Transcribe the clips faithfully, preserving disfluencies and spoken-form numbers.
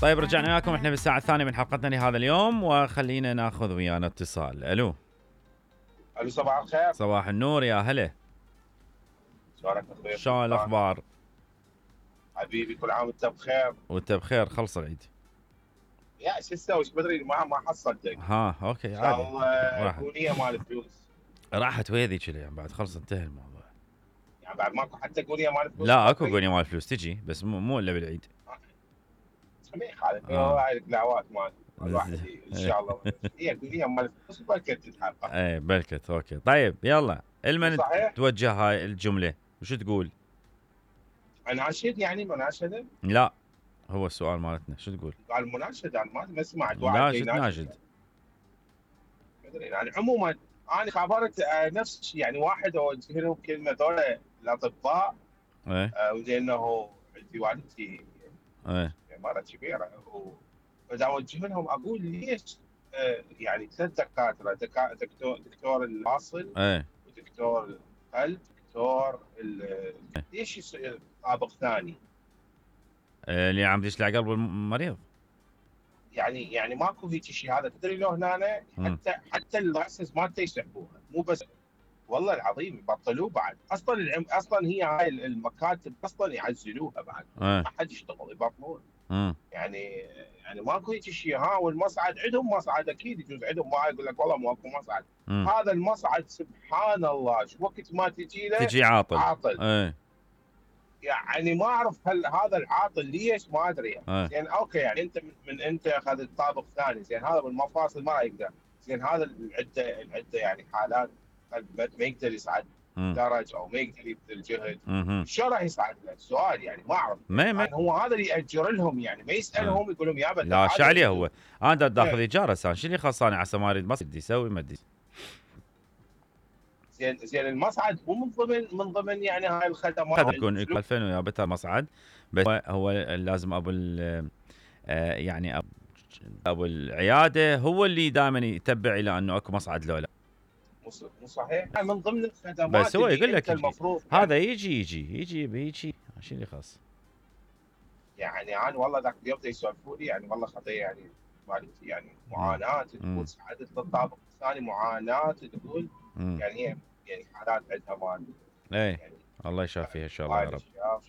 طيب رجعنا وياكم احنا بالساعة الثانية من حلقتنا لهذا اليوم، وخلينا ناخذ ويانا اتصال. الو الو صباح الخير. صباح النور يا هلا. شلونك اخوي؟ شلون الاخبار؟ حبيبي كل عام وانت بخير. وانت بخير، خلص العيد. يا شو تسوي؟ ايش بدري ما ما حصلتك. ها اوكي ان عادي. شاء الله اغنيه مال الفلوس. راحت ويذي يعني بعد خلص انتهى الموضوع. يعني بعد ماكو حتى اغنيه مال الفلوس؟ لا اكو اغنيه مال الفلوس تجي بس مو مو الا بالعيد. ما يخالف هاي الدعوات مال الواحد ان شاء الله هي اغنيه مال الفلوس بلكت تتحقق. ايه بلكت اوكي. طيب يلا المن توجه هاي الجمله وشو تقول؟ اناشد يعني مناشده؟ لا هو السؤال مالتنا شو تقول؟ قال مناشده انا ما سمعت واحد لا شو تناشد؟ يعني عموما انا خبرت نفس الشيء يعني واحد اوجه لهم كلمه ذولا الاطباء ايه آه وزينه عندي والدتي ايه مرة كبيره فاذا اوجه لهم اقول ليش آه يعني ثلاث دكاتره دكا دكتور دكتور الفاصل ايه ودكتور القلب دكتور ليش يصير طابق ثاني؟ إيه اللي عم يشلع قلب المريض يعني يعني ماكو هيك شيء. هذا تدري لو هنا حتى حتى اللايسنس مالته يسحبوها مو بس والله العظيم يبطلوه بعد. اصلا العم... اصلا هي هاي المكاتب اصلا يعزلوها بعد ما حد يشتغل يبطلون. امم يعني يعني ماكو هيك شيء. ها والمصعد عندهم مصعد اكيد يجوز عندهم ما يقول لك والله ماكو مصعد. مم. هذا المصعد سبحان الله شو وقت ما تجي له تجي عاطل عاطل ايه. يعني ما اعرف هل هذا العاطل ليش ما ادري يعني. ايه. زين اوكي يعني انت من, من انت اخذت طابق ثاني زين هذا بالمفاصل ما يقدر زين هذا العده العده يعني حالات ما يقدر يصعد درج او ما يقدر يبذل جهد شو راح يصعد له؟ السؤال يعني ما اعرف ما ما يعني هو هذا اللي ياجر لهم يعني ما يسالهم يقول لهم يا بدا لا شو عليه هو انا داخذ ايجار هسه شو اللي خلصاني عسى ما اريد ما بدي يسوي ما ادري. زين زين المصعد مو من ضمن من ضمن يعني هاي الخدمات قد يكون ألفين ويا بتر مصعد بس هو لازم ابو يعني ابو العياده هو اللي دائما يتبع الى انه اكو مصعد لو لا. مو صحيح من ضمن الخدمات بس هو يقول لك المفروض هذا يعني يجي يجي يجي بهيجي شو اللي خاص يعني انا والله ذاك اليوم يسولفوا لي يعني والله خطيه يعني والدتي يعني معاناه تقول صعدت للطابق الثاني معاناه تقول يعني هي يعني حالات عندها مال ايه يعني الله يشافيها ان شاء الله يا رب.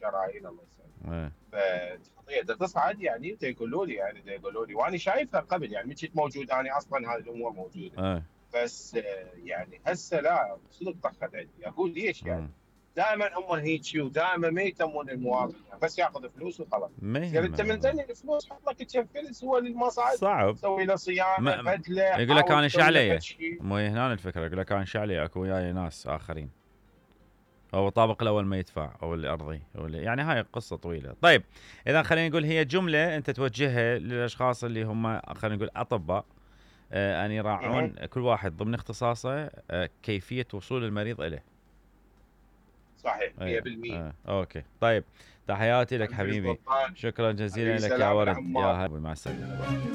شرايين الله يسلمك. ايه فخطيه تصعد يعني يقولوا لي يعني يقولوا لي وانا شايفها قبل يعني من كنت موجود انا اصلا هذه الامور موجوده. ايه بس يعني هسه لا صدق طخت عندي اقول ليش يعني دائما هم هيك ودائما ما يهتمون المواطن يعني بس ياخذ فلوس وخلاص. يعني انت من ثاني الفلوس حط لك كم فلس هو للمصعد صعب سوي له صيانه بدله يقول لك انا ايش علي مو هنا الفكره يقول لك انا ايش علي اكو وياي ناس اخرين او الطابق الاول ما يدفع او الارضي أو يعني هاي قصه طويله. طيب اذا خلينا نقول هي جمله انت توجهها للاشخاص اللي هم خلينا نقول اطباء آه ان يراعون كل واحد ضمن اختصاصه آه كيفيه وصول المريض اليه. صحيح مية بالمية. آه. اوكي طيب تحياتي لك حبيبي شكرا جزيلا لك يا ورد يا هلا مع السلامه.